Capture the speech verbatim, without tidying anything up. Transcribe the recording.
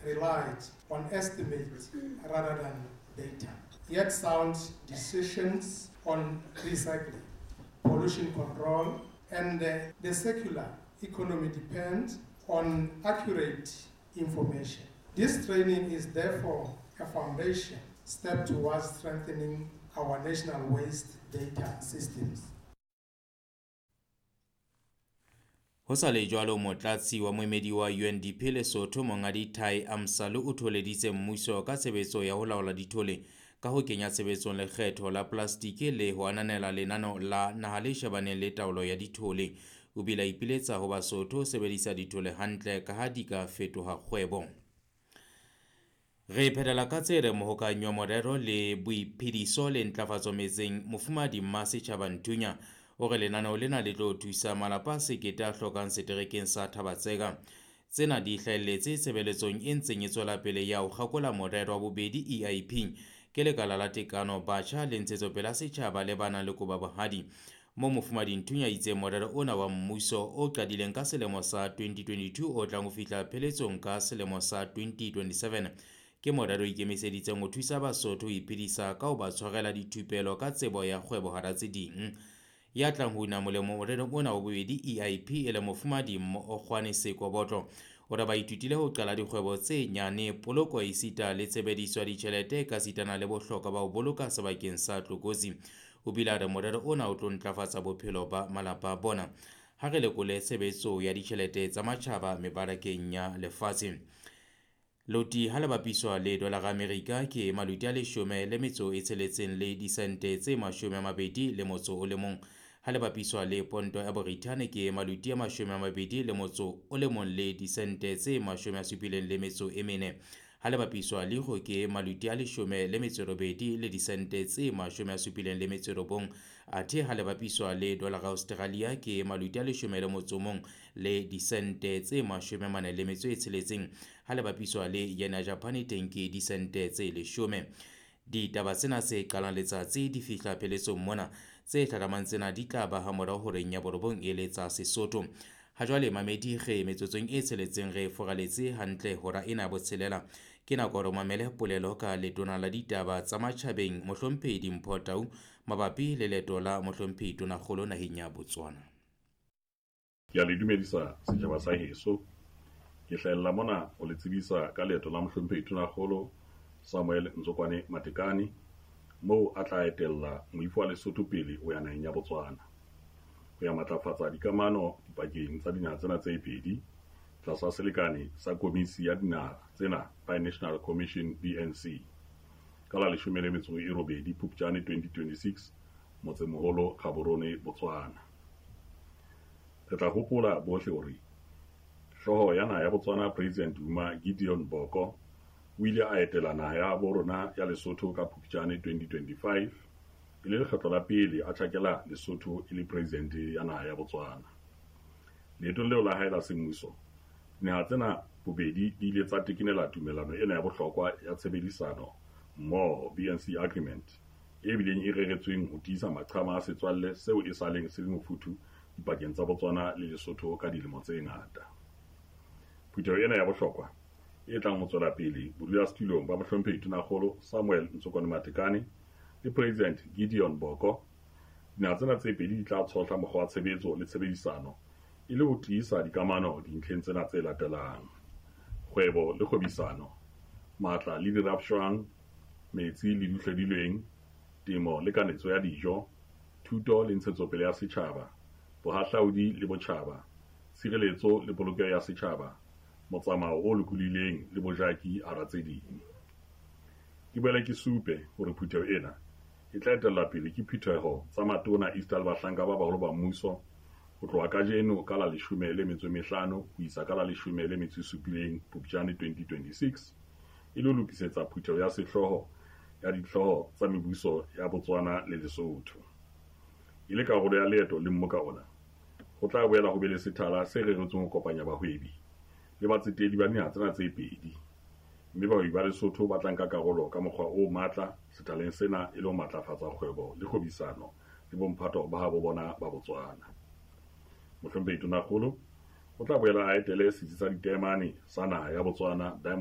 relied on estimates rather than data. Yet sound decisions on recycling, pollution control, and the circular economy depend on accurate information. This training is therefore a foundation step towards strengthening our national waste data systems. Ho sa le jwalo, motlatsi wa moemedi wa U N D P Lesotho Monghadi Tai Amsalu o tholeditse mmuso ka tshebetso ya ho laola dithole ka ho kenya tshebetsong lekgetho la plastiki le ho ananela lenano la naha le shebaneng le taolo ya dithole. O bile a ipiletsa ho Basotho ho sebedisa dithole hantle ka ha di ka fetoha kgwebo. Re phethela ka tse re mohokanyi wa morero le boiphediso le ntlafatso metseng Mofumahadi Mmasetjhaba Nthunya o re lenaneo lena le tlo thusa malapa a sekete a hlokang seterekeng sa Thaba-Tseka. Tsena di hlahelletse tshebeletsong e ntseng e tswela pele ya ho kgakola morero wa bobedi E I P ke lekala la tekano batjha le ntshetsopele ya setjhaba le ba nang le koba bohadi. Mo Mofumahadi Nthunya itse morero ona wa mmuso o qadileng ka selemo sa twenty twenty-two o tlang ho fihla pheletsong ka selemo sa twenty twenty-seven ke morero o ikemiseditseng ho thusa Basotho ho iphedisa ka ho ba tshwarela dithupelo ka tsebo ya kgwebo hara tse ding. Ya tlang ho una molemo morerong ona wa bobedi E I P e le Mofumahadi Mokgwane Sekobotlo o re ba ithutile ho qala dikgwebo tse nyane, poloko esita le tshebediso ya ditjhelete ekasitana le bohlokwa ba ho boloka sebakeng sa tlokotsi. O bile a re morero ona o tlo ntlafatsa bophelo ba malapa a bona. Ha re lekole tshebetso ya ditjhelete tsa matjhaba mebarakeng ya lefatshe. Loti ha le bapiswa le dolara Amerika ke maluti a leshome le metso e tsheletseng le disente tse mashome a mabedi le motso o le mong. Ha le bapiswa le ponto ya Borithane ke maluti a mashome a mabedi le motso o le mong le disente tse mashome a supileng le metso e mene. Ha le bapiswa le euro ke maluti a leshome le metso e robedi le disente tse mashome a supileng le metso e robong. Athe ha le bapiswa le dolara Australia ke maluti a leshome le motso o mong le disente tse mashome a mane le metso e tsheletseng. Ha le bapiswa le yen ya Japan teng ke disente tse leshome. Ditaba tsena tse qalang letsatsi di fihla pheletsong mona, tse hlahlamang tsena di tla ba ha morao horeng ya borobong e le tsa Sesotho. Ha jwale mamedi re metsotsong e tsheletseng re foraletse hantle hora ena ya botshelela. Ke nako hore o mamele polelo ka letona la ditaba tsa matjhabeng Mohlomphehi Dimpho Tau mabapi le leeto la Mohlomphehi Tonakgolo naheng ya Botswana. Ke a le dumedisa setjhaba sa heso. Ke hlahella mona ho le tsebisa ka leeto la Mohlomphehi Tonakgolo Samuel Ntsokwane Matekane moo a tla etella moifo wa Lesotho pele ho ya naheng ya Botswana ho ya matlafatsa dikamano dipakeng tsa dinaha tsena tse pedi tlasa selekane sa komisi ya dinaha tsena Binational Commission B N C ka la leshome le metso e robedi Phupjane twenty twenty-six motsemoholo Gaborone Botswana. Re tla hopola bohle hore hlooho ya naha ya Botswana President Duma Gideon Boko o ile a etela naha ya bo rona ya Lesotho ka Phupjane twenty twenty-five e le lekgetlo la pele a tjhakela Lesotho e le president ya naha ya Botswana. Leetong leo la hae la semmuso, dinaha tsena bobedi di ile tsa tekenela tumellano ena ya bohlokwa ya tshebedisano mmoho B N C Agreement e bileng e reretsweng ho tiisa maqhama a setswalle seo e saleng se le mofuthu dipakeng tsa Botswana le Lesotho ka dilemo tse ngata. Phutheho ena ya bohlokwa e tlang ho tswela pele bodulasetulong ba Mohlomphehi Tonakgolo Samuel Ntsokwane Matekane le President Gideon Boko, dinaha tsena tse pedi di tla tshohla mokgwa wa tshebetso le tshebedisano e le ho tiisa dikamano dintlheng tsena tse latelang: kgwebo le kgwebisano, matla le dirapshwang, metsi le dihlodilweng, temo le kanetso ya dijo, thuto le ntshetsopele ya setjhaba, bohahlaudi le botjhaba, tshireletso le polokeho ya setjhaba, motsamao o lokolohileng le bojaki hara tse ding. Ke boele ke supe hore phutheho ena e tla etellwa pele ke phutheho tsa matona esita le bahlanka ba baholo ba mmuso ho tloha kajeno ka la leshome le metso e mehlano ho isa ka la leshome le metso e supileng Phupjane twenty twenty-six e le ho lokisetsa phutheho ya sehlooho ya dihlooho tsa mebuso ya Botswana le Lesotho. E le karolo ya leeto le mmoka ona, ho tla boela ho be le sethala se reretsweng ho kopanya bahwebi le batsetedi ba dinaha tsena tse pedi, mme bahwebi ba Lesotho ba tla nka karolo ka mokgwa o matla sethaleng sena e le ho matlafatsa kgwebo le kgwebisano le bomphato ba habo bona ba Botswana. Mohlomphehi Tonakgolo o tla boela a etele setsi sa ditaemane sa naha ya Botswana Diamond